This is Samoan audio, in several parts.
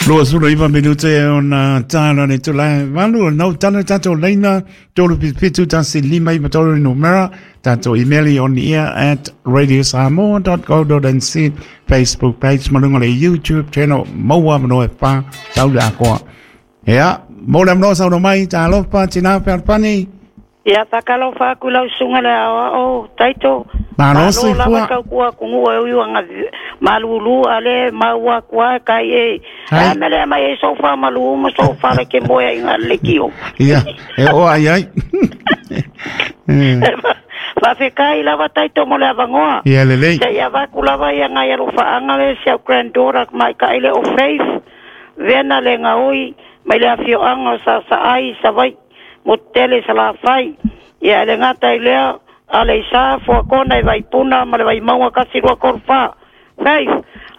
29 minute e ona tāna le tula valu o nau tana tātou leina 3771593 numera tātou email i on ear at radiosamoa.co.nz Facebook page malunga le YouTube channel maua manoa e wha tau le akoa. Ea, mō le amanoa sauno mai, tālofa, tina whiarpani. Ia whakalofa aku lau susuga le aoao Taito. Malo Malo soifua. lava tau kua kunuu e ui anga malulu ale maua kua kai e. Hai. A mele mai e sofa malu ma sofa le ke moe inga le kio. Ia, e o ai ai. Eh, Whawhekai lava Taito mo le avangoa. Ia lelei. Se ia vaku lava ia ngai alofa anga le si au granddaughter mai ka ile o Faith. Vena le ngaoi mai le afio anga sa sa ai sa vai mo tele sa la fai. Ia le ngata i lea a le isa fua kona i vai puna ma le vai maunga kasi rua koru wha. Faith,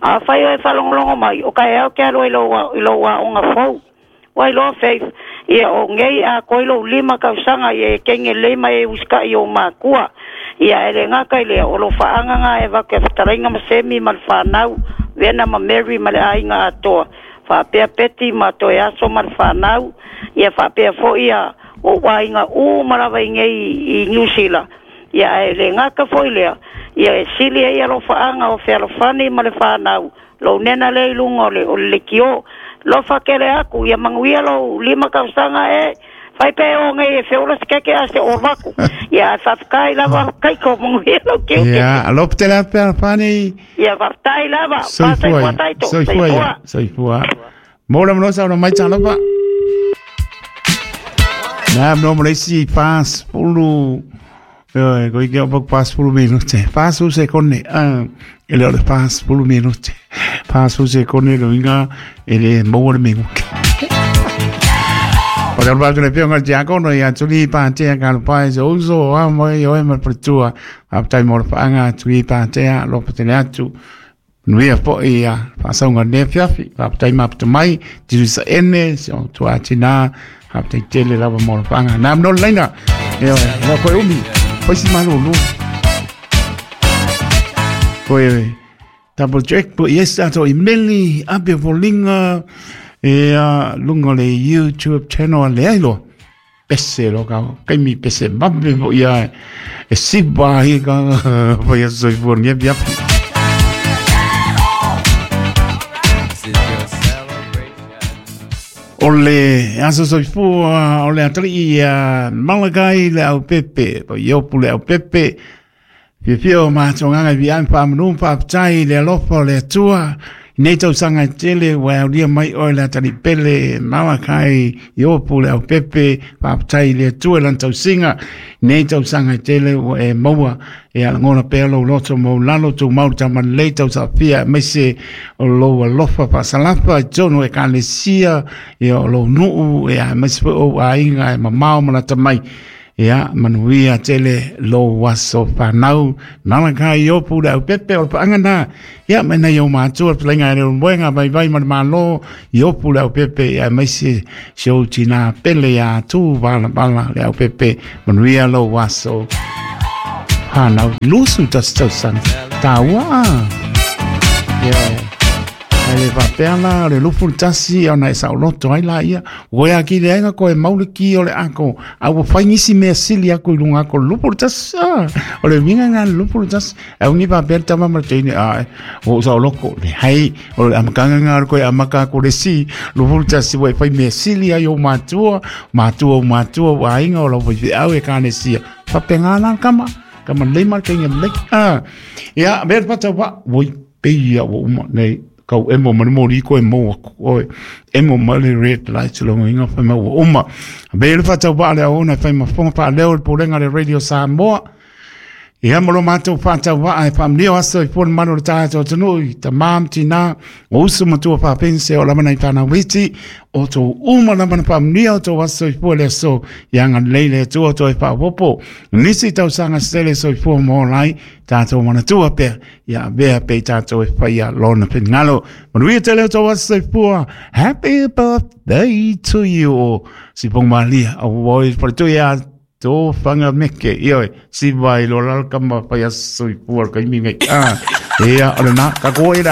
a whai o e whalongolongo mai o kai au ke alo i lo wa onga fau. Wai loa Faith, ia o ngei a koi lo lima kausanga ia e kenge lema e uska i o makua. Ia ele ngaka i lea o lo whaanga ngā e waka e whatarainga ma semi ma le whanau, vena ma Mary ma le ainga atoa. Whapea peti ma toe aso ma le whanau, ia whapea fo ia o wainga u marawa i ngei i New Zealand. Ia ele ngaka fo i lea, ia e sili e ia lo whaanga o whealofani ma le whanau. Lo nena le ilunga o le o le kio. Lo whakele aku, ia manguia lo lima kausanga e, whai pe o ngai e whiola se keke a se orwaku. Ia whawhakai lava kaiko manguia lo kiu ke. Ia, alofa tele atu Fealofani. Ia whawhatai lava, Soifua whasai ia. taito, Soifua ia. Soifua. Mō le amanoa sauno mai tālofa. Nā, no mo le isi 40. Oi, koi ke opak 40 minute. 40 sekone. Ah, ele o le 40 minute. 40 sekone lo inga ele maua le minguke. O le alba le pionga diakono ia tuli pātea ka lo pai se uso a mai o e ma pretua. A tai mo le whaanga tuli pātea lo patele atu. Nuia po ia whaasauga ne fiafi. Whapatai mapata mai, tiru sa ene, se o tua tina, whapatai tele lava mo le whaanga. Nā mnole leina, e oe, no koe umi, paisi malulu. Koe, double check po yes ato i meli, ape volinga, e a lunga le YouTube channel a le ailo. Pese lo ka, kaimi pese mape po ia, e sipa hi ka, po ia soifua nge piapi. O le aso soifua, o le atali ia Malakai le au pepe, po iopu le au pepe, fiafia o mātonganga i vian whaamanu whaaptai le alofa o le atua, nei tausaga e tele ua aulia mai oe le atali pele Malakai iopu le au pepe, whaaptai le atua lan tausiga, nei tausaga e tele ua e maua e alagona pea lou loto ma lalo tou mau tamalelei tausafia aemaise o lou alofa faasalafa i totonu e ekalesia ia o lou nuu e aemaise foi ou aiga e mamao ma lata mai. Ia manuia tele lou aso whanau Malakai iopu le au pepe o le paanga nā. Ia mai nei o mātua le pelenga e le moenga vai vai ma le malo iopu le au pepe ia maise se o tina pele ia tu vala vala le au pepe manuia lou aso whanau. Lusu tas tausaga. Tāua. Ia. Ai le whapea la, le lufu le tasi, ona e sauloto ai la ia. Oe a ki le ainga koe maule ki o le ako. A ua whai ngisi mea sili ako i lunga ako lufu le tasi. O le winga ngā lufu le tasi. Au ni whapea le tama ma le teine, a, o sauloko. Le hei, o le amakanga ngā koe amaka ko le si. Lufu le tasi, ua e whai mea sili ai o mātua. Mātua o mātua, o ainga o lau whai au e kāne sia. Whapea ngā la kama. Kama leima le keinga mlek. Ia, mea le pata wa, woi, peia wa uma nei. Kau emo ma le moli ko e mo aku oi emo ma le red light lo inga fa ma uma be le fata wa le ona fa ma fonga pa leo le polenga le Radio Samoa ia mo lo matou fata wa ai fa mlio aso i fon mano le tato tonu i tamam tina o usu matua fa pense o lamana i fana witi o to uma lamana fa mlio to aso i fo le so ia nga leile tu to i fa popo nisi tau sanga stele so i fo mo lai tatou manatua pea ia vea pe tatou e whaia lona pingalo. Manuia tele o tau aso soifua. Happy birthday to you o si pong malia. O oi pare ia tō whanga meke. Ioi, si vai lo lal kama whaia soifua kai mi ngai. Ah, ia, o le nā, ka koe.